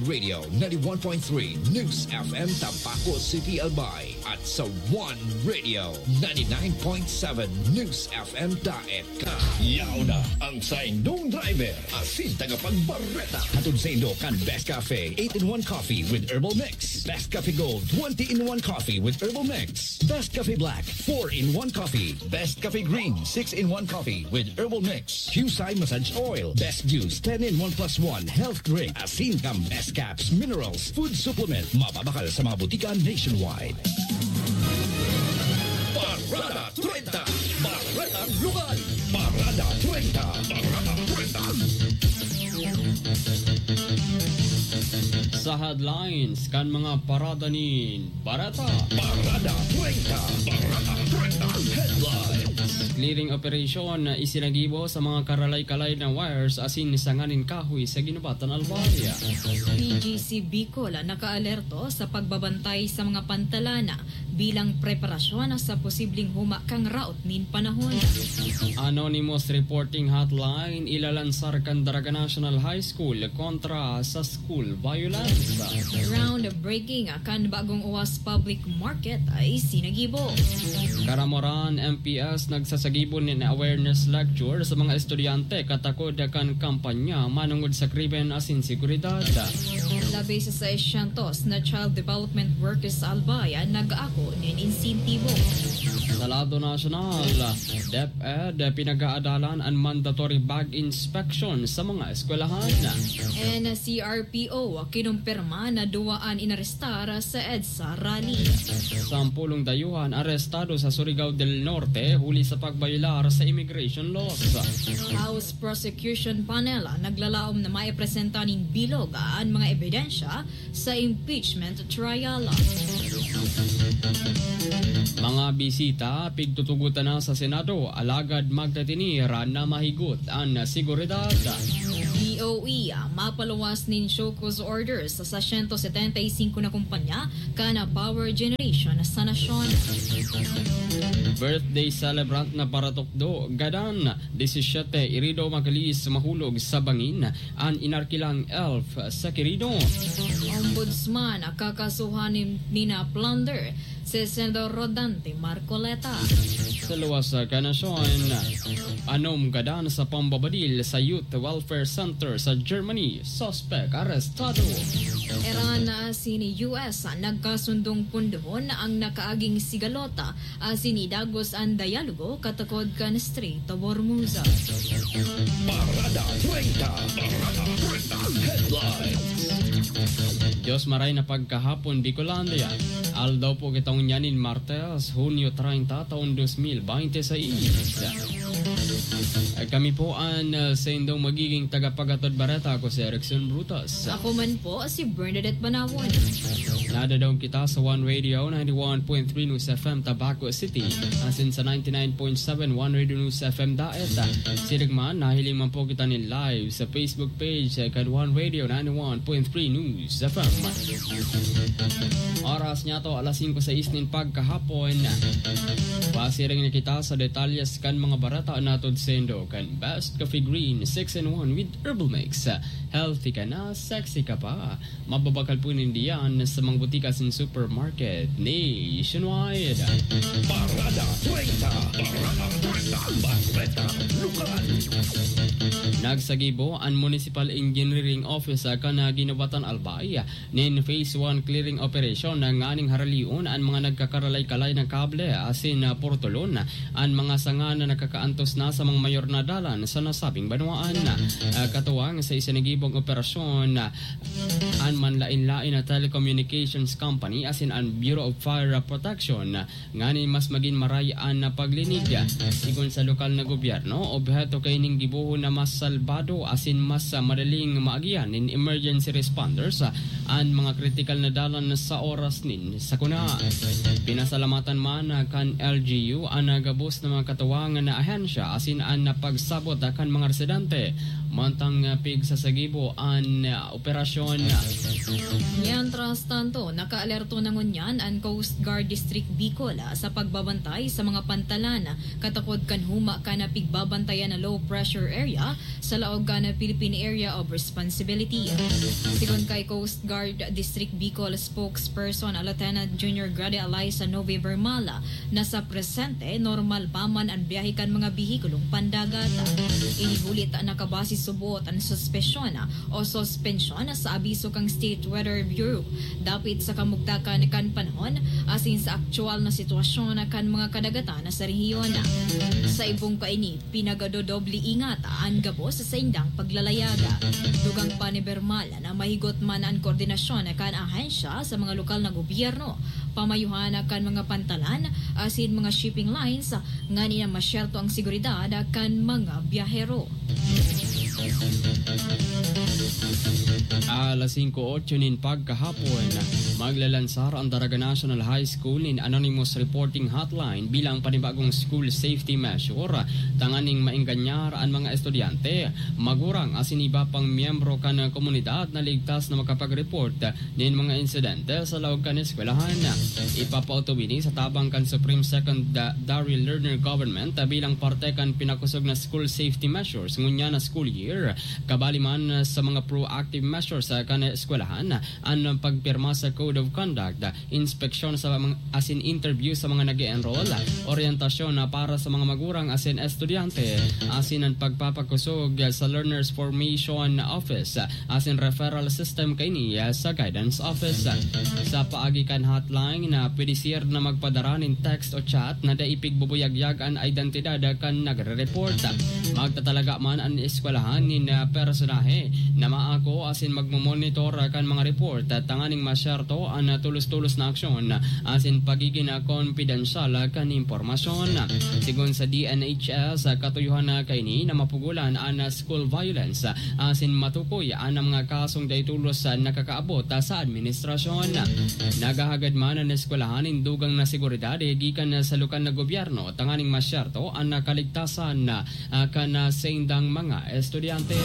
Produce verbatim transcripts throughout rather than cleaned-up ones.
Radio ninety-one point three News F M Tabaco City, Albay, at sa One Radio ninety-nine point seven News F M Daet. Yaw na ang saindong driver asin tagapagbareta. Hatod saindo kan Best Cafe eight-in-one Coffee with Herbal Mix, Best Cafe Gold twenty-in-one Coffee with Herbal Mix, Best Cafe Black four-in-one Coffee, Best Cafe Green six-in-one Coffee with Herbal Mix, Qcye Massage Oil, Best Juice ten-in-one plus one Health Drink, asin kan Best Caps Minerals Food Supplement. Mababakal sa mga butika nationwide. Parada treinta, Baretang Lokal. Parada treinta, Parada treinta. Sa headlines kan mga parada nin Bareta. Parada treinta, Barada treinta, Headlines. Clearing operation na isinagibo sa mga karalay-kalay na wires asin sanga nin kahoy sa Guinobatan, Albay. P G C Bicol nakaalerto sa pagbabantay sa mga pantalan bilang preparasyon sa posibleng huma kan raot nin panahon. Anonymous Reporting Hotline ilalansar kan Daraga National High School kontra sa school violence. Groundbreaking kan bagong Uwas Public Market ay sinagibo. Caramoran M P S nagsasagibo nin awareness lecture sa mga estudyante katakod kan kampanya manongod sa krimen asin seguridad. Labi sa seiscientos na Child Development Workers Albay an nag-aako nin insentibo. Sa lado nasyonal, DepEd pinag-aadalan an mandatory bag inspection sa mga eskwelahan. N C R P O kinumpirma na duwa an inarestar sa EDSA rally. Sampolong dayuhan arestado sa Surigao del Norte huli sa pagbayolar sa immigration laws. House Prosecution Panel naglalaom na maipresenta nin bilog an mga ebidensya sa impeachment trial. Mga bisita, pigtutugotan na sa Senado, alagad magtatiniran na mahigot an seguridad. D O E, mapaluwas nin show cause orders sa sento setenta y cinco na kumpanya kan power generation sa nasyon. Birthday celebrant na paratukdo, gadan, disisiete, irido, makalis, mahulog sa bangin an inarkilang elf sa Quirino. Ombudsman, kakasuhan ni, ni na plunder si Senador Rodante Marcoleta. Sa luwas kan nasyon, anom gadan sa pambabadil sa Youth Welfare Center sa Germany, suspek arestado. Iran asin U S nagkasundong pundohon ang nakaaging sigalota asin idagos an dialogo katakod kan Strait of Hormuz. Parada treinta, Parada treinta, Headlines. Dios maray na pagkahapon, Bicolandia. Aldaw po kita ngunyan nin Martes, Hunyo treinta, taon dos mil binte seis. Kami po an, ah, saindong magiging tagapaghatod bareta. Ako si Erickson Brutus. Ako man po si Bernadette Banawon. Nadadaog kita sa One Radio ninety-one point three News F M Tabaco City, asin sa ninety-nine point seven One Radio News F M Daet. Siring man, nahiling man po kita nin live sa Facebook page kan One Radio ninety-one point three News F M. Oras niya to, alas singko sais nin pagkahapon. Pasiring na kita sa detalyes kan mga bareta na hatod saindo kan Best Coffee Green six-in-one with Herbal Mix. Healthy ka na, sexy ka pa. Mababakal po ninda yan sa mga butika asin supermarket nationwide. Parada treinta, Parada treinta, Bareta Lokal. Nagsagibo an Municipal Engineering Office kan Guinobatan, Albay nin Phase one clearing operation nganing haralion an mga nagkakaralay-kalay na kable asin, ah, purtulon an mga sanga na nakakaantos na sa mga mayor na dalan sa nasabing banwaan. Ah, katuwang sa isinagibong operasyon, ah, an manlaen-laen na telecommunications company asin an Bureau of Fire Protection, ah, nganing mas magin maray an paglinig. Sigon sa lokal na gobyerno, obheto kaining gibohon na mas salbado asin mas, ah, madaling maagihan nin emergency responders, ah, an mga kritikal na dalan sa oras nin sakuna. Pinasalamatan man, ah, kan L G U an, ah, gabos na mga katuwang na ahensya asin an, ah, pagsabot, ah, kan mga residente. Mantang, ah, pigsasagibo an, ah, operasyon. Mientras tanto, nakaalerto na ngunyan an Coast Guard District Bicol, ah, sa pagbabantay sa mga pantalan katakod kan huma kan pigbabantayan na low pressure area sa laog kan Philippine Area of Responsibility. Sigon kay Coast Guard District Bicol spokesperson Lieutenant Junior Grade Alay sa November Mala, na sa presente, normal pa man an biyahe kan mga behikulong pandagat. Ini huli ta nakabase subot an suspesyon o suspensyon sa abiso kan State Weather Bureau dapit sa kamugtakan kan panahon asin sa aktuwal na sitwasyon kan mga kadagatan sa rehiyon. Sa ibong kaini, pinagadodoble ingat an gabos sa saindang paglalayag. Dugang pa ni Bermal na mahigot man an koordinasyon kan ahensya sa mga lokal na gobyerno, pamayuhan kan mga pantalan asin mga shipping lines, ngani na masyerto ang seguridad kan mga biyahero. Alas singko otso nin pagkahapon, maglalansar ang Daraga National High School nin Anonymous Reporting Hotline bilang panibagong school safety measure, tanganing maenganyar an mga estudyante, magurang asin iba pang miyembro kan komunidad na ligtas na makapag-report nin mga insidente sa laog kan eskwelahan. Ipapautubod ini sa tabang kan Supreme Secondary Learner Government bilang parte kan pinakosog na school safety measures ngunyan na school year. Kabali man sa mga proactive measures kan eskwelahan, an pagpirma sa Code of Conduct, inspeksyon sa mga, asin interview sa mga nag-e-enroll, oryentasyon na para sa mga magurang asin estudyante, asin an pagpapakosog sa Learners Formation Office, asin referral system kaini sa Guidance Office. Sa paagi kan hotline na pwede siya na magpadara nin text o chat na dai pigbubuyagyag an identidad kan nagre-report. Magtatalaga man an eskwelahan nin, ah, personahe na maako asin magmomonitor kan mga report tanganing masyerto an, ah, tulos-tulos na aksyon asin pagigin, ah, kompidensyal kan impormasyon. Sigon sa D N H S, ah, katuyohan na kaini na mapugulan an, ah, school violence, ah, asin matukoy an mga kasong dai tolos, ah, nakakaabot, ah, sa administrasyon. Naghahagad man an eskwelahan nin dugang na seguridad, eh, gikan, ah, sa lokal na gobyerno tanganing masyerto an, ah, kaligtasan, ah, kan, ah, saindang mga estudyante.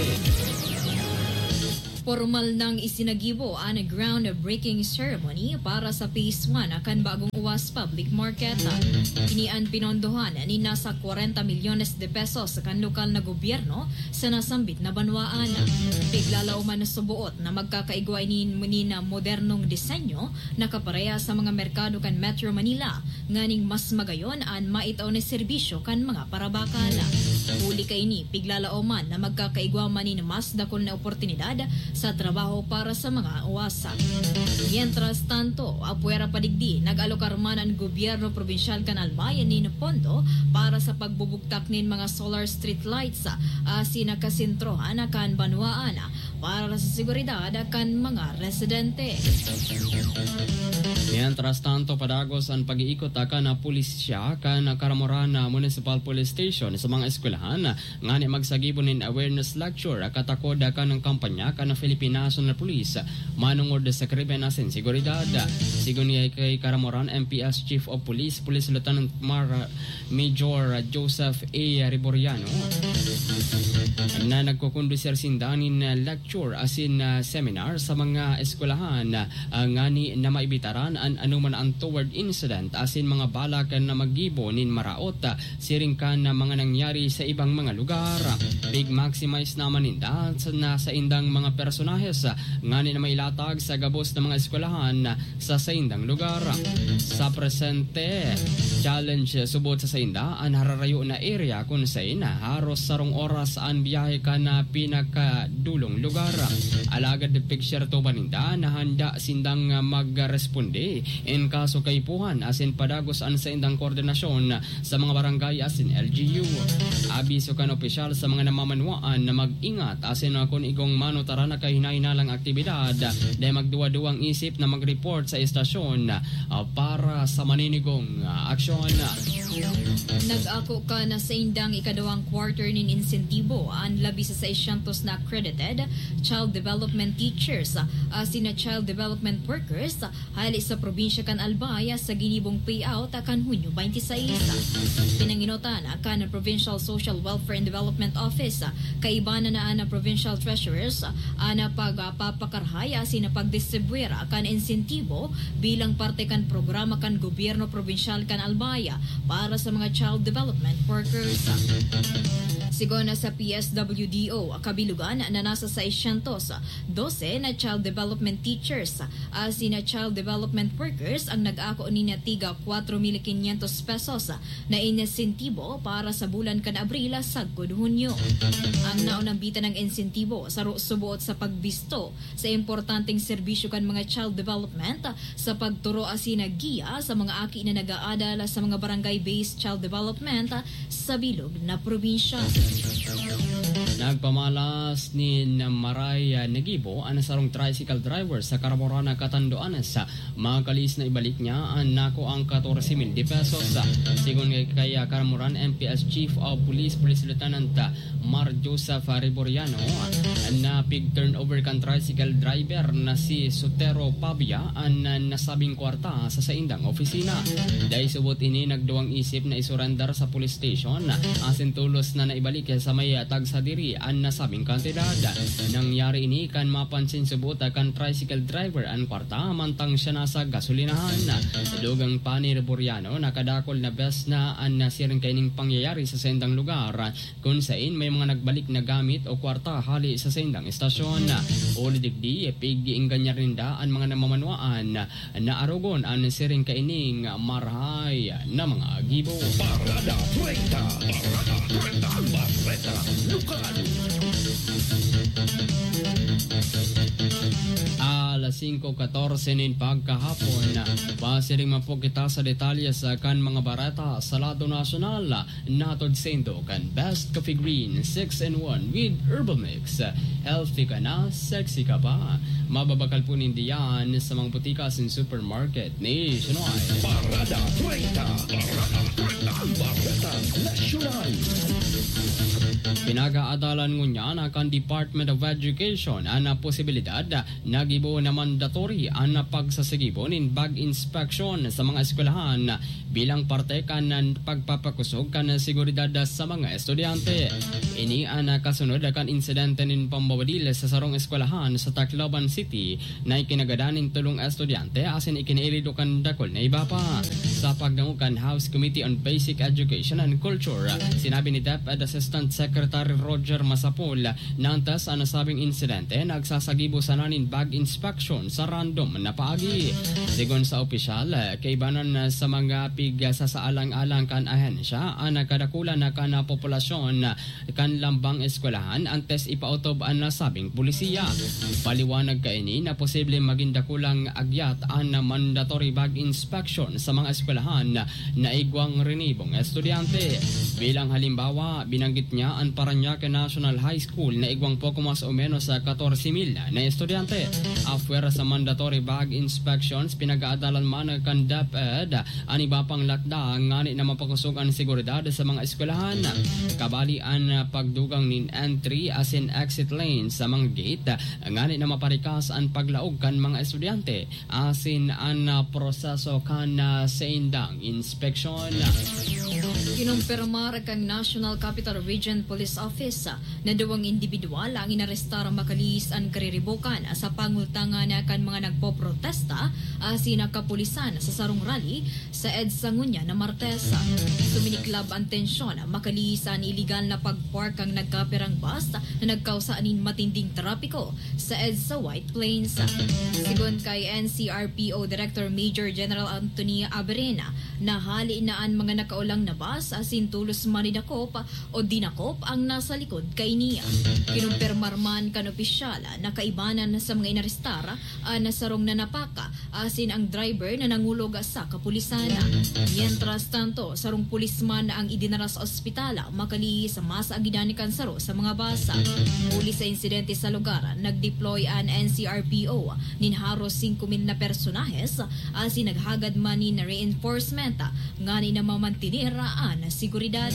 Pormal nang isinagibo an groundbreaking ceremony para sa Phase one kan bagong Uwas Public Market. Ini an pinondohan nin nasa kwarenta milyones de pesos kan lokal na gobyerno sa nasambit na banwaan. Piglalaoman na suboot na magkakaigwa ini nin modernong disenyo na kaparehas sa mga merkado kan Metro Manila, nganing mas magayon an maitao na serbisyo kan mga parabakal. Huli kaini, piglalaoman na magkakaigwa man nin mas dakul na oportunidad sa trabaho para sa mga uwas. Mientras tanto, apwera pa digdi, nag-alokar man an gobyerno probinsyal kan Albay nin pondo para sa pagbubugtak nin mga solar street lights, asin nakasentrohan kan banwaan para sa seguridad kan mga residente. Mientras tanto, padagos an pag-iikot kan pulisya kan Caramoran Municipal Police Station sa mga eskwelahan ngani magsagibo nin awareness lecture katakod kan kampanya kan Philippine National Police manongod sa krimen asin seguridad. Sigon ni kay Caramoran M P S Chief of Police, Police Lieutenant Mar Major Joseph A. Riboriano, na nagkukondusir sinda nin lecture asin, ah, seminar sa mga eskwelahan, ah, ngani na maibitaran an anoman untoward incident asin mga balak na maggibo nin maraot, ah, siring kan mga nangyari sa ibang mga lugar. Pig-maximize naman ninda sa, na saindang mga personahes, ah, ngani na mailatag sa gabos na mga eskwelahan, ah, sa saindang lugar. Sa presente, challenge subot sa sainda an hararayo na area kun sain haros sarong oras an biyahe kan, ah, pinakadulong lugar. Alagad pigserto pa ninda na handa sindang, ah, magresponde in kaso kaipuhan asin padagos an saindang koordinasyon sa mga barangay asin L G U. Abiso kan opisyal sa mga namamanwaan na mag-ingat asin kun igong manutaran na kahinahinalang aktibidad, dai magduwa-duwang isip na mag-report sa estasyon, ah, para sa maninigong, ah, aksyon. Nag-ako kan saindang ikaduwang quarter nin insentibo an labi sa seiscientos na accredited child development teachers asin na child development workers hali sa probinsya kan Albay sa ginibong payout kan Hunyo twenty-six. Pinanginotan kan Provincial Social Welfare and Development Office, kaiba na na an Provincial Treasurers, an pagpapakarhay asin pagdistribwir kan insentibo bilang parte kan programa kan gobyerno probinsyal kan Albay para sa mga child development workers. Sigon sa P S W D O, kabilugan na nasa seiscientos dose na child development teachers asin na child development workers ang nag-ako nin tiga kwatro mil quinientos pesos na insentibo para sa bulan kan Abril sagkod Hunyo. Ang naunambitan ng insentibo saro suboot sa pagbisto sa importanteng serbisyo kan mga child development sa pagturo asin giya sa mga aki na nag-aadal sa mga barangay-based child development sa bilog na probinsya. Nagpamalas nin maray, ah, na gibo an sarong tricycle driver sa Karamorana, Catanduanes. Makalis na ibalik niya an nakuang katorse mil de pesos. Sigon kay, kay, ah, Caramoran M P S Chief of Police, Police Lieutenant, ah, Mar Joseph Reboriano, na pig-turnover kan tricycle driver na si Sotero Pabia an nasabing kwarta sa saindang opisina. Dai subot ini nagduwang isip na isurandar sa police station, asin tolos na naibalik sa may tagsa diri an nasabing kantidad. Nangyari ini kan mapansin subot kan tricycle driver an kwarta mantang siya nasa gasolinahan. Dugang pa ni Reboriano, nakadakul na bes na an nasiring kaining pangyayari sa saindang lugar, kun sain may mga nagbalik na gamit o kwarta hali sa saindang estasyon. Huli digdi, pig-iingganyar ninda an mga namamanwaan na arogon an siring kaining marahay na mga gibo. Parada treinta, Parada treinta, Bareta Lokal. Alas singko katorse nin pagkahapon, pasiring man po kita sa detalye sa kan mga bareta sa lado nasyonal. Natod saindo kan Best Coffee Green six in one with Herbal Mix. Healthy ka na, sexy ka pa. Mababakal po nindo yan sa mga butika asin supermarket nationwide. Parada treinta, Parada treinta, Bareta Nasyonal. Pinag-aadalan ngunyan kan Department of Education an posibilidad na gibo na mandatory an pagsasagibo nin bag inspection sa mga eskwelahan bilang parte kan pagpapakosog kan seguridad sa mga estudyante. Ini an kasunod kan insidente nin pambabadil sa sarong eskwelahan sa Tacloban City na ikinagadan nin tolong estudyante asin ikinairidok kan dakul na iba pa. Sa pagdangog kan House Committee on Basic Education and Culture, sinabi ni DepEd Assistant Secretary Roger Masapol na antes an nasabing insidente, nagsasagibo sana nin bag inspection sa random na paagi. Sigon sa opisyal, kaibanan sa mga pigsasaalang-alang kan ahensya, an kadakulan na kan populasyon kan lambang eskwelahan antes ipaotob an nasabing polisiya. Paliwanag kaini na posible magin dakulang agyat an mandatory bag inspection sa mga eskwelahan na igwang rinibong estudyante. Bilang halimbawa, binanggit niya an Parañaque National High School na igwang poko mas o menos sa katorse mil na estudyante. Apwera sa mandatory bag inspections, pinag-aadalan man kan DepEd an iba pang lakda ngani na mapakosog an seguridad sa mga eskwelahan. Kabali an pagdugang nin entry asin exit lane sa mga gate ngani na maparikas an paglaog kan mga estudyante asin an, ah, proseso kan, ah, saindang inspeksyon. Kinumpirmar kan National Capital Region Police Office, ah, na duwang indibidwal ang inarestar makalihis an kariribokan sa pangultangan kan mga nagpoprotesta asin kapulisan sa sarong rally sa EDSA ngunyan na Martes. Suminiklab an tensyon makalihis an iligal na pag-park kan nagkapirang bus na nagkausa nin matinding trapiko sa EDSA White Plains. Sigon kay N C R P O Director Major General Anthony Aberena, nahali na an mga nakaulang na bus asin tolos man dinakop o dinakop ang nasa likod kaini. Kinumpirmar man kan opisyal na kaibanan sa mga inarestar an sarong nanapaka asin ang driver na nangulog sa kapulisan. Mientras tanto, sarong pulisman na ang idinara sa ospital, makalihis mas agidan kan saro sa mga bus. Huli sa insidente sa lugar, nag-deploy an N C R P O nin haros singko mil na personahes, asin naghagad man nin reinforcement ngani na mamantener an seguridad.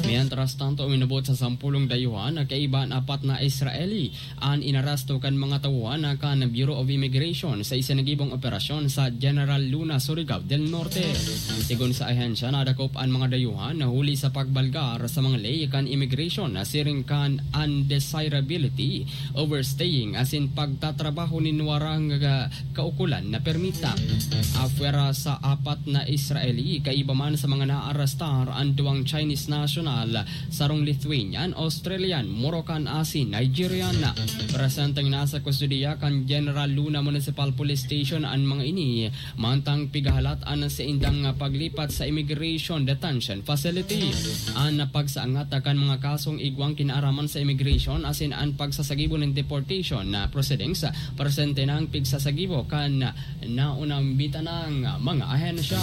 Mientras tanto, uminabot sa sampulong dayuhan na kaiba an apat na Israeli an inaresto kan mga tauhan kan Bureau of Immigration sa isinagibong operasyon sa General Luna, Surigao del Norte. Sigon sa ahensya, nadakop an mga dayuhan na huli sa pagbalgar sa mga ley kan immigration na siring kan undesirability, overstaying asin pagtatrabaho nin warang, ah, kaukulan na permita. Apwera sa apat na Israeli, kaiba man sa mga naarestar an duwang Chinese national, sarong Lithuanian, Australian, Moroccan asin Nigerian. Presenteng nasa kustodiya kan General Luna Municipal Police Station an mga ini, mantang pigahalat an saindang paglipat sa immigration detention facility. An pagsaangat kan mga kasong igwang kinaaraman sa immigration asin an pagsasagibo nin deportation na proceedings, presente na an pigsasagibo kan naunang bitanang mga ahensya.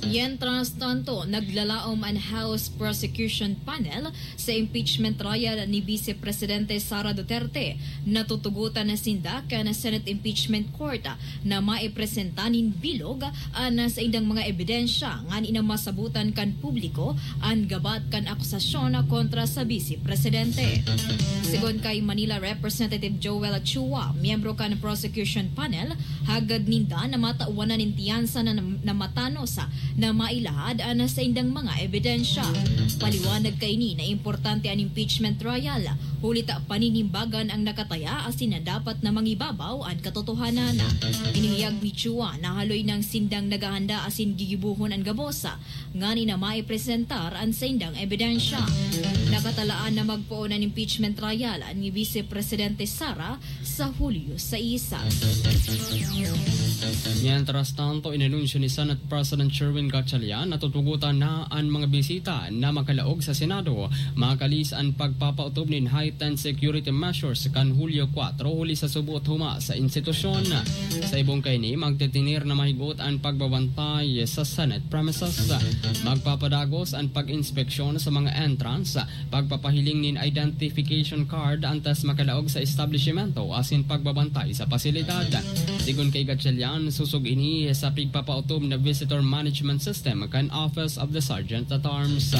Mientras tanto, naglalaom an House Prosecution Panel sa impeachment trial ni Vice Presidente Sara Duterte. Natutugotan na sinda kan Senate Impeachment Court na maipresenta nin bilog an saindang mga ebidensya ngani na masabotan kan publiko an gabat kan akusasyon kontra sa Vice Presidente. Sigon kay Manila Representative Joel Chua, miyembro kan prosecution panel, hagad ninda na matawan na nin tiyansa na, na matanos na mailahad an saindang mga ebidensya. Paliwanag kaini na importante an impeachment trial, huli ta paninimbagan ang nakataya asin na dapat na mangibabaw an katotohanan. Inihayag ni Chua na haloy nang sindang naghahanda asin gigibohon an gabos ngani na maipresentar an saindang ebidensya. Nakatalaan na magpoon an impeachment trial ni Vice Presidente Sara sa Hulyo sais. Mientras tanto, inanunsyo ni Senate President Sherwin Gatchalian na tutugotan na an mga bisita na makalaog sa Senado, makalis an pagpapautob nin heightened security measures kan Hulyo kwatro huli sa subo at huma sa institusyon. Sa ibong kaini, magtitinir na mahigot an pagbabantay sa Senate premises. Magpapadagos an pag-inspeksyon sa mga entrance, pagpapahiling nin identification card antes makalaog sa establishmento asin pagbabantay sa pasilidad. Sigon kay Gatchalian, susog ini sa pigpapautob na visitor management system kan Office of the Sergeant at Arms.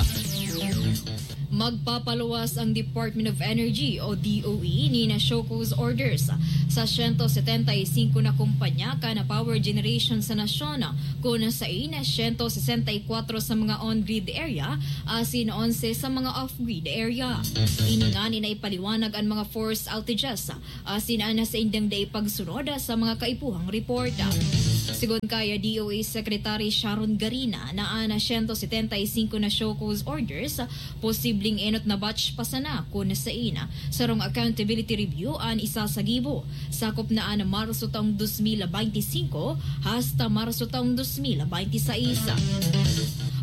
Magpapaluwas ang Department of Energy o D O E nin show cause orders sa siyento setenta y singko na kumpanya kan power generation sa nasyon, kun sain siyento sesenta y kwatro sa mga on-grid area asin onse sa mga off-grid area. Ini ngani na ipaliwanag an mga forced outages asin an saindang dai pagsunod sa mga kaipuhang report. Sigon kay D O E Secretary Sharon Garina na an siyento setenta y singko na show cause orders, posibleng enot na batch pa sana kun sain sarong accountability review an isasagibo. Sakop na an Marso taong dos mil baynte singko hasta Marso taong dos mil baynte sais.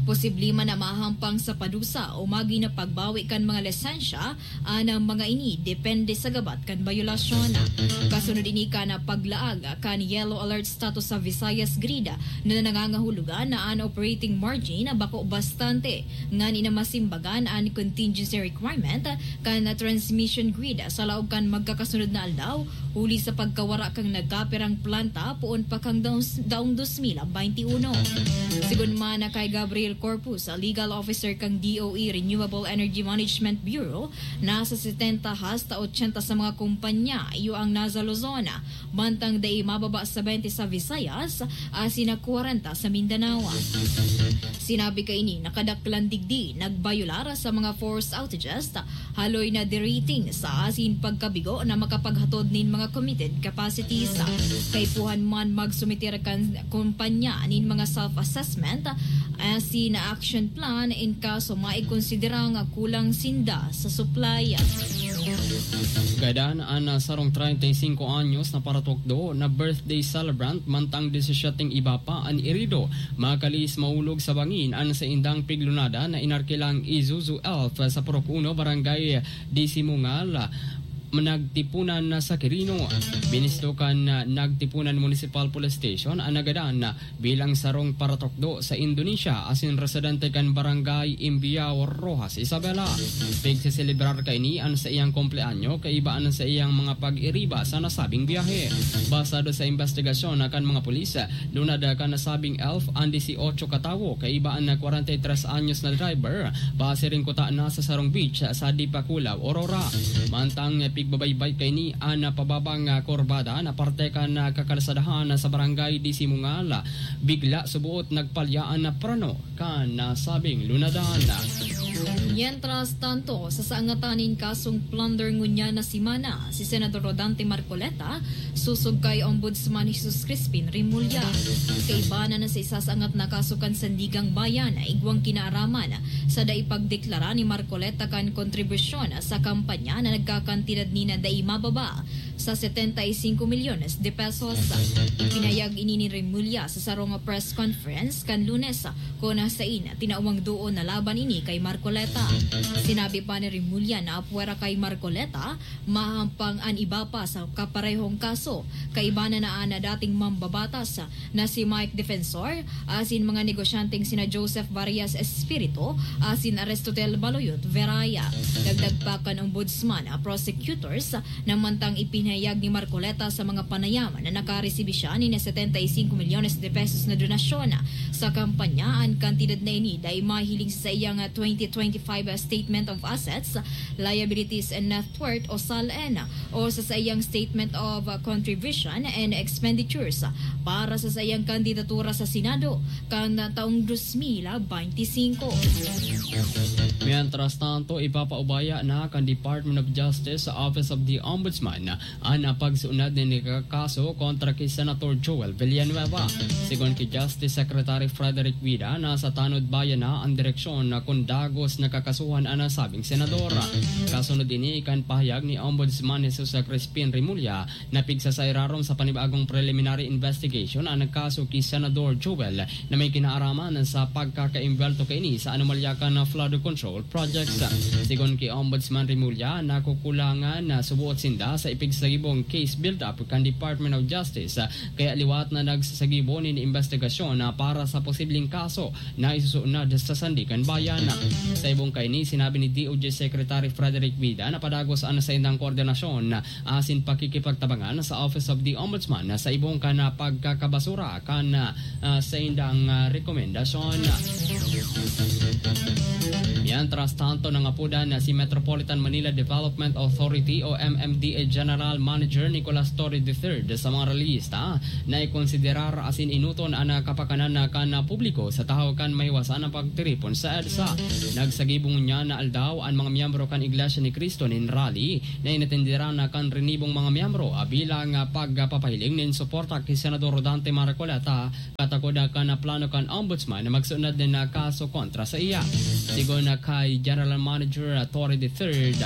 Posible man na mahampang sa padusa o magin na pagbawi kan mga lisensya, anang mga ini depende sa gabat kan bayolasyon. Kasunod ini kan paglaag kan yellow alert status sa Visayas Grid na nangangahulugan na an operating margin bako bastante, ngani na masimbagan an contingency requirement kan transmission grid sa laog kan magkakasunod na aldaw, huli sa pagkawara kan nagkapirang planta poon pa kan daong, daong dos mil baynte uno. Sigon man kay Gabriel Corpus, legal officer kan D O E Renewable Energy Management Bureau, nasa setenta hasta ochenta sa mga kumpanya iyo ang nasa Luzon, mantang dai mababa sa baynte sa Visayas asin kwarenta sa Mindanao. Sinabi kaini na kadaklan digdi nagbayolar sa mga forced outages, haloy na derating sa asin pagkabigo na makapaghatod nin mga committed capacities. Kaipuhan man magsumiter kan kumpanya nin mga self-assessment asin action plan in kaso maikonsidera nga kulang sinda sa supply. Gadan an, ah, sarong treinta y cinco anyos na paratukdo na birthday celebrant, mantang disisiete iba pa an irido. Makalis maulog sa bangin an saindang piglunada na inarkilang Isuzu Elf sa Purok Uno, Barangay Disimungal, nagtipunan na sa Quirino. Binisto kan, ah, Nagtipunan Municipal Police Station an nagadan na bilang sarong paratukdo sa Indonesia asin residente kan Barangay Imbiao, Roxas, Isabela. Pigseselebrar kaini an saiyang kumpleanyo kaiba an saiyang mga pag-iriba sa nasabing biyahe. Basado sa imbestigasyon na kan mga pulis, lunad kan nasabing elf an dieciocho katawo kaiba an kwarenta y tres anyos na driver, pasiring kuta na sa sarong beach sa Dipakulaw, Aurora. Mantang pigbabaybay kaini an pababang kurbada na parte kan kakalsadahan sa barangay Disimungal, bigla subuot nagpalyaan na preno kan nasabing lunadan. Mientras tanto, sa saangatan nin kasong plunder ngunyan na semana, si Senador Rodante Marcoleta, sosog kay Ombudsman Jesus Crispin Remulla. Kaiba na sa isasaangat na kaso kan Sandigang Bayan na igwang kinaaraman sa dai pagdeklara ni Marcoleta kan kontribusyon sa kampanya na nagkakantidad ni na dai mababa sa setenta y cinco milyones de pesos. Ipinayag ini ni Remulla sa sarong press conference kan Lunes, kun sain tinawang duon na laban ini kay Marcoleta. Sinabi pa ni Remulla na apwera kay Marcoleta, mahampang an iba pa sa kaparehong kaso. Kaiba na na an dating mambabatas na si Mike Defensor, asin mga negosyanteng sina Joseph Varias Espiritu asin Aristotel Baloyot Veraya. Dagdag pa kan Ombudsman, a prosecutors, na mantang ipinahayag ni Marcoleta sa mga panayam na nakaresibi siya nin setenta y cinco milyones de pesos na donasyon sa kampanya, an kantidad na ini dai mahiling sa saiyang twenty twenty-five Statement of Assets, Liabilities and Net Worth o SALN o sa saiyang Statement of Contribution and Expenditures para sa saiyang kandidatura sa Senado kan taong dos mil beinti singko. Mientras tanto, ipapaubaya na kan Department of Justice sa Office of the Ombudsman an pagsunod nin kaso kontra ki Senator Joel Villanueva. Sigon ki Justice Secretary Frederick Vida, nasa tanod bayan na an direksyon na kun dagos na kakasuhan an nasabing senador. Kasunod ini kan pahayag ni Ombudsman Jesus Crispin Remulla na pigsasairarom sa panibagong preliminary investigation an kaso ki Senador Joel na may kinaaraman sa pagkakaimbwelto kaini sa anomalya kan flood control projects. Sigon ki Ombudsman Remulla, nakukulangan na subuot sinda sa ipigsagibong case build-up kan Department of Justice, kaya liwat na nagsasagibo nin imbestigasyon na para sa posibleng kaso na isusunod sa Sandigan Bayan. Sa ibong kaini, sinabi ni D O J Secretary Frederick Vida na padagos an saindang koordinasyon asin pakikipagtabangan sa Office of the Ombudsman sa ibong kan pagkakabasura kan, ah, saindang, ah, rekomendasyon. Mientras tanto, nangapudan na si Metropolitan Manila Development Authority o M M D A General Manager Nicolas Torre the third sa mga rallyista na ikonsiderar asin enoton an kapakanan na kan publiko sa tahaw kan mahiwasan na pagtiripon sa EDSA. Nagsagibo ngunyan na aldaw an mga miyembro kan Iglesia ni Cristo nin rally na inatenderan na kan rinibong mga miyembro, ah, bilang, ah, pagpapahiling nin suporta ki Senador Rodante Marcoleta katakod, ah, kan, ah, plano kan Ombudsman na magsunod nin, ah, kaso kontra sa iya. Sigon, ah, kay General Manager, ah, Torre the third,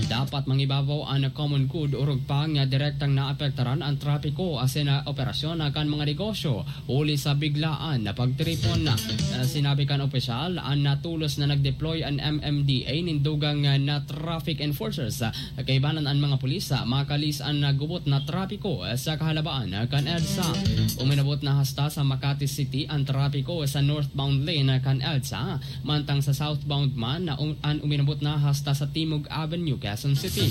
dapat mangibabaw an common good orog pa nga direktang naapektaran an trapiko asin, ah, operasyon, ah, kan mga negosyo huli sa biglaan na pagtiripon. Ah, sinabi kan opisyal, an natulos na nag-deploy an M M D A nin dugang, ah, na traffic enforcers, ah, kaibanan an mga pulis, ah, makalis an, ah, gubot na trapiko, ah, sa kahalabaan, ah, kan EDSA. Uminabot na hasta sa Makati City an trapiko sa northbound lane, ah, kan EDSA, mantang sa southbound man na um-, an uminabot na hasta sa Timog Avenue, Quezon City.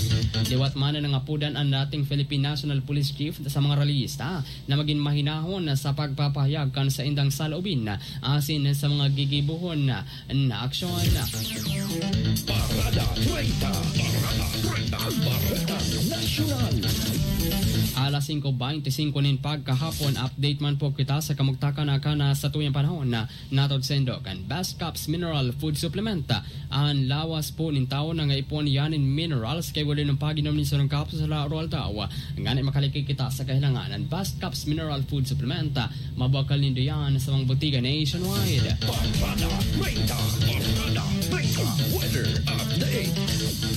Liwat man na nangapudan an dating Philippine National Police Chief sa mga rallyista na magin mahinahon sa pagpapahayag kan saindang saloobin asin sa mga gigibohon na aksyon. Parada treinta. Parada treinta. Parada Nasyonal. Alas singko beinti singko nin pagkahapon, update man po kita sa kamugtakan na kan satuyang panahon na natod saindo kan Best Caps Mineral Food Supplement. An lawas po nin tawo nangaipon iyan nin minerals kay wala nang pag-inom nin sarong kapsula o aldaw. Ngani makaliki kita sa kahilangan, an Best Caps Mineral Food Supplement, mabakal nindo iyan sa mga botiga nationwide. Parada treinta, Parada treinta, weather update.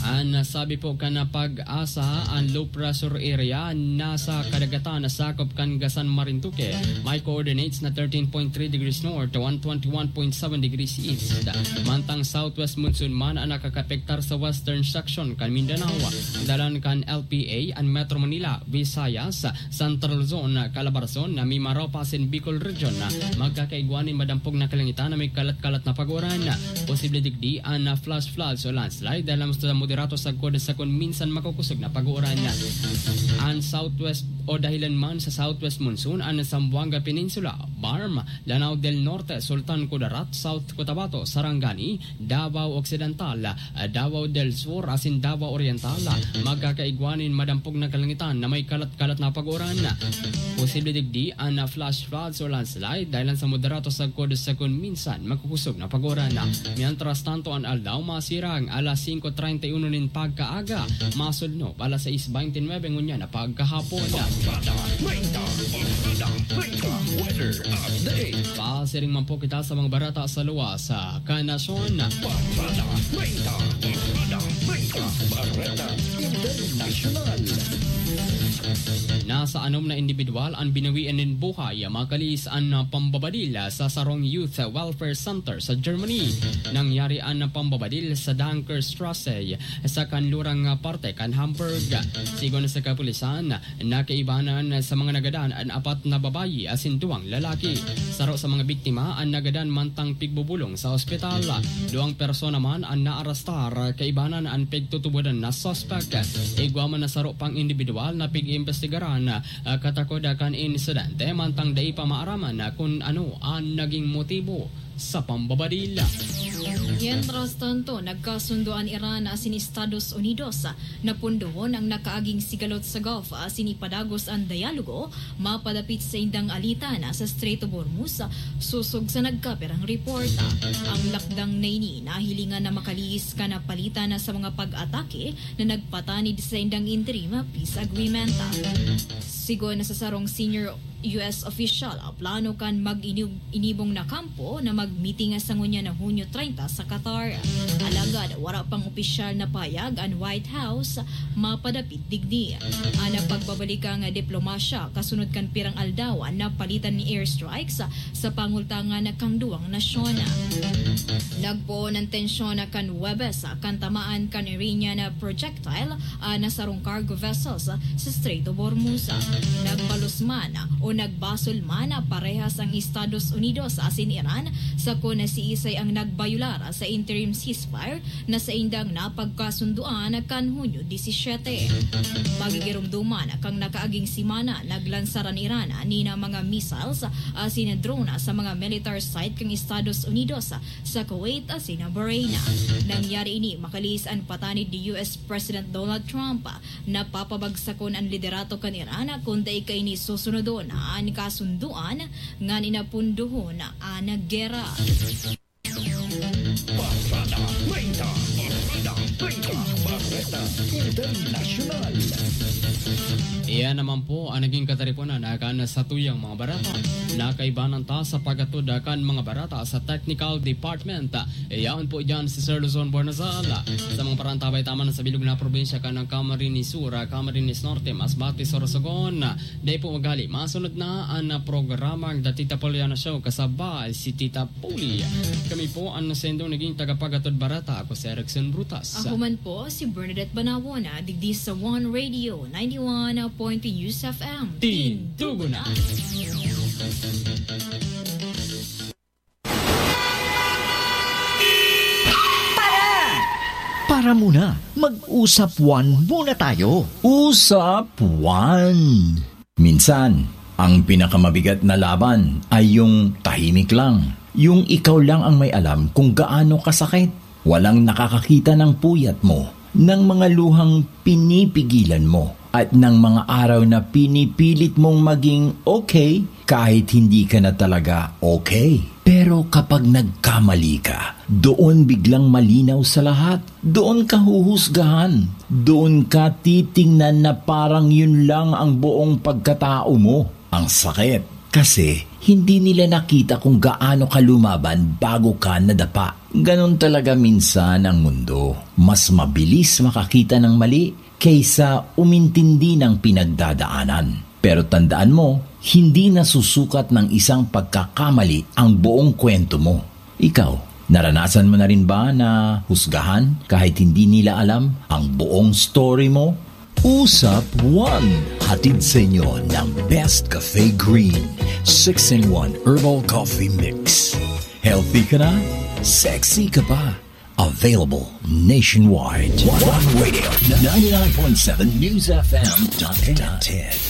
An sabi po kan PAGASA, an low pressure area na sa kadagatan na sakop kan Gasan Marinduque, may coordinates na thirteen point three degrees north, one twenty-one point seven degrees east. Mantang southwest monsoon man ang nakakapektar sa western section kan Mindanao, dalan kan L P A, an Metro Manila, Visayas, Central Luzon, Calabarzon, Mimaropa asin Bicol Region. Magkakaigwa nin madampog na kalangitan na may kalat-kalat na pag-uran. Posible digdi an flash floods o landslide dahil sa moderato sagkod sa kun minsan makukusog na pag-uran. An southwest o dahilan man sa southwest monsoon an Zamboanga Peninsula, BARMM, Lanao del Norte, Sultan Kudarat, South Cotabato, Sarangani, Davao Occidental, Davao del Sur asin Davao Oriental. Magkakaigwa nin madampog na kalangitan na may kalat-kalat na pag-uran. Posible digdi an flash floods o landslide dahil sa moderato sagkod sa kun minsan makukusog na pag-uran. Mientras tanto, an aldaw masirang alas singko treinta y uno nin pagkaaga, masudnop alas sais beintinuebe ngunyan na pagkahapon. Barada Treinta, Barada Treinta, weather update. Pasiring man po kita sa mga barata sa luwas, ah, kan nasyon. Barada Treinta, Barada Treinta, Bareta Internasyonal. Nasa anom na indibidwal an binawian nin buhay, makalihis an, ah, pambabadil sa sarong Youth Welfare Center sa Germany. Nangyari an pambabadil sa Dunkerstrasse, sa kanlurang, ah, parte kan Hamburg. Sigon sa kapulisan, nakaibanan sa mga nagadan an apat na babayi asin duwang lalaki. Saro sa mga biktima an nagadan mantang pigbubulong sa ospital. Duwang persona man an naarastar, kaibanan an pigtutubodan na suspek. Igwa man na saro pang indibidwal na pig-iimbestigaran, ah, katakod kan insidente, mantang dai pa maaraman na kun ano an naging motibo sa pambabadil. Mientras tanto, nagkasundo an Iran asin Estados Unidos na pundohon ang nakaaging sigalot sa Gulf asin ipadagos an dialogo mapadapit sa indang alitan sa Strait of Hormuz, sosog sa nagkapirang report. Ang lakdang na ini nahilingan na makalihis kan palitan sa mga pag-atake na nagpatanid sa indang interim peace agreement. Sigon sa sarong senior U S official, plano kan mag-inibong na kampo na magmiting sa ngunyan na Hunyo treinta sa Qatar. Alagad wara pang opisyal na pahayag an White House mapadapit digdi. An pagbabalikang diplomasya kasunod kan pirang aldaw na palitan ni airstrikes sa pangultangan kan duwang nasyon. Nagpoon an tensyon kan Huwebes kan tamaan kan Iranian projectile an sarong cargo vessels sa Strait of Hormuz. Nagbalos man o nagbasol man parehas ang Estados Unidos asin Iran sa kun siisay ang nagbayular sa interim ceasefire na saindang napagkasunduan kan Hunyo disisiete. Magigiromdoman kan nakaaging semana, naglansar an Iran nin mga missiles asin drone sa mga military site kan Estados Unidos sa Kuwait asin Bahrain. Nangyari ini makalihis an patanid ni U S President Donald Trump. Napapabagsakon an liderato kan Iran kun dai kaini susunodon an kasunduan nganing napundohon an gera. Barada Treinta, Barada Treinta, Bareta Internasyonal. Iyan naman po ang naging kataripunan kan satuyang mga barata. Nakaibanan ta sa paghatod kan mga barata sa technical department. Iyan po dyan si Sir Luzon Bornazal. Sa mga parantabay taman sa bilog na probinsya kan Camarines Sur, Camarines Norte, Masbate, Sorsogon. Dai po maghali. Masunod na ang programang The Tita Poliana Show kasabay si Tita Poli. Kami po ang nasendong naging tagapaghatod barata. Ako si Erickson Brutas. Ako man po si Bernadette Banawon, ah, digdi sa One Radio, ninety-one point two News F M. Tindugo na. Para muna, mag-usap one muna tayo. Usap one. Minsan, ang pinakamabigat na laban ay yung tahimik lang. Yung ikaw lang ang may alam kung gaano kasakit. Walang nakakakita ng puyat mo, ng mga luhang pinipigilan mo, at ng mga araw na pinipilit mong maging okay kahit hindi ka na talaga okay. Pero kapag nagkamali ka, doon biglang malinaw sa lahat. Doon ka huhusgahan. Doon ka titingnan na parang yun lang ang buong pagkatao mo. Ang sakit. Kasi hindi nila nakita kung gaano ka lumaban bago ka nadapa. Ganon talaga minsan ang mundo. Mas mabilis makakita ng mali kaysa umintindi ng pinagdadaanan. Pero tandaan mo, hindi nasusukat ng isang pagkakamali ang buong kwento mo. Ikaw, naranasan mo na rin ba na husgahan kahit hindi nila alam ang buong story mo? Usap One, hatid sa inyo ng Best Cafe Green, six-in-one Herbal Coffee Mix. Healthy ka na, sexy ka pa. Available nationwide. One Radio, ninety-nine point seven News F M dot net.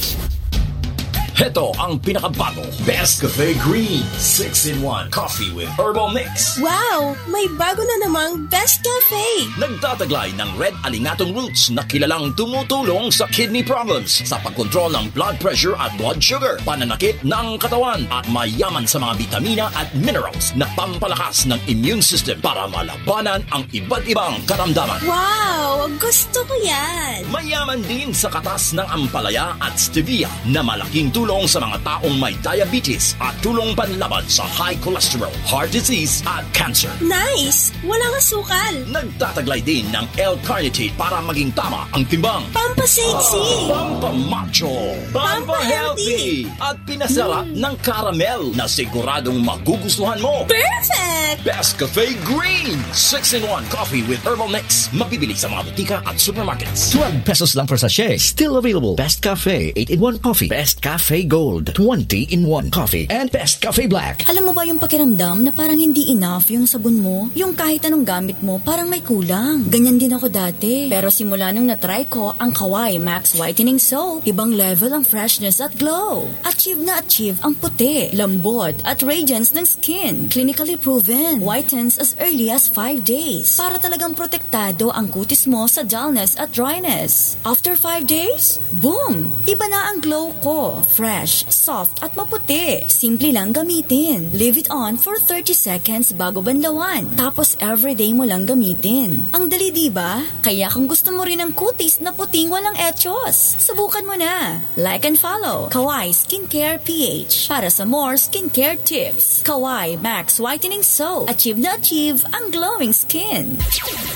Heto ang pinakabago, Best Cafe Green, six-in-one Coffee with Herbal Mix. Wow! May bago na namang Best Cafe! Nagtataglay ng red alingatong roots na kilalang tumutulong sa kidney problems, sa pagkontrol ng blood pressure at blood sugar, pananakit ng katawan, at mayaman sa mga bitamina at minerals na pampalakas ng immune system para malabanan ang iba't ibang karamdaman. Wow! Gusto ko yan! Mayaman din sa katas ng ampalaya at stevia na malaking tulong sa mga taong may diabetes at tulong panlaban sa high cholesterol, heart disease at cancer. Nice! Walang asukal! Nagtataglay din ng L-carnitine para maging tama ang timbang. Pampasexy! Pampamacho! Pampahealthy! At pinasarap ng caramel na siguradong magugustuhan mo. Perfect! Best Cafe Green! six-in-one Coffee with Herbal Mix. Mabibili sa mga butika at supermarkets. Twelve pesos lang per sachet. Still available. Best Cafe eight-in-one Coffee. Best Cafe Gold twenty-in-one Coffee. And Best Cafe Black. Alam mo ba yung pakiramdam na parang hindi enough yung sabon mo? Yung kahit anong gamit mo, parang may kulang. Ganyan din ako dati. Pero simula nung na-try ko ang Kawai Max Whitening Soap, ibang level ang freshness at glow. Achieve na achieve ang puti, lambot, at radiance ng skin. Clinically proven. Whitens as early as five days. Para talagang protektado ang kutis mo sa dullness at dryness. After five days, boom! Iba na ang glow ko. Fresh, soft, at maputi. Simple lang gamitin. Leave it on for thirty seconds bago banlawan. Tapos everyday mo lang gamitin. Ang dali, di ba? Kaya kung gusto mo rin ng kutis na puting walang echos, subukan mo na. Like and follow Kawai Skincare P H para sa more skincare tips. Kawai Max Whitening Soap. Achieve na achieve ang glowing skin.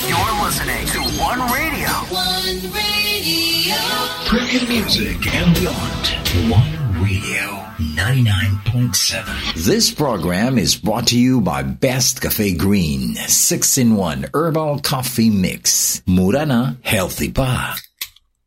You're listening to One Radio. One Radio. Premium music and beyond. One Radio ninety-nine point seven. This program is brought to you by Best Cafe Green six-in-one Herbal Coffee Mix. Mura na, healthy pa.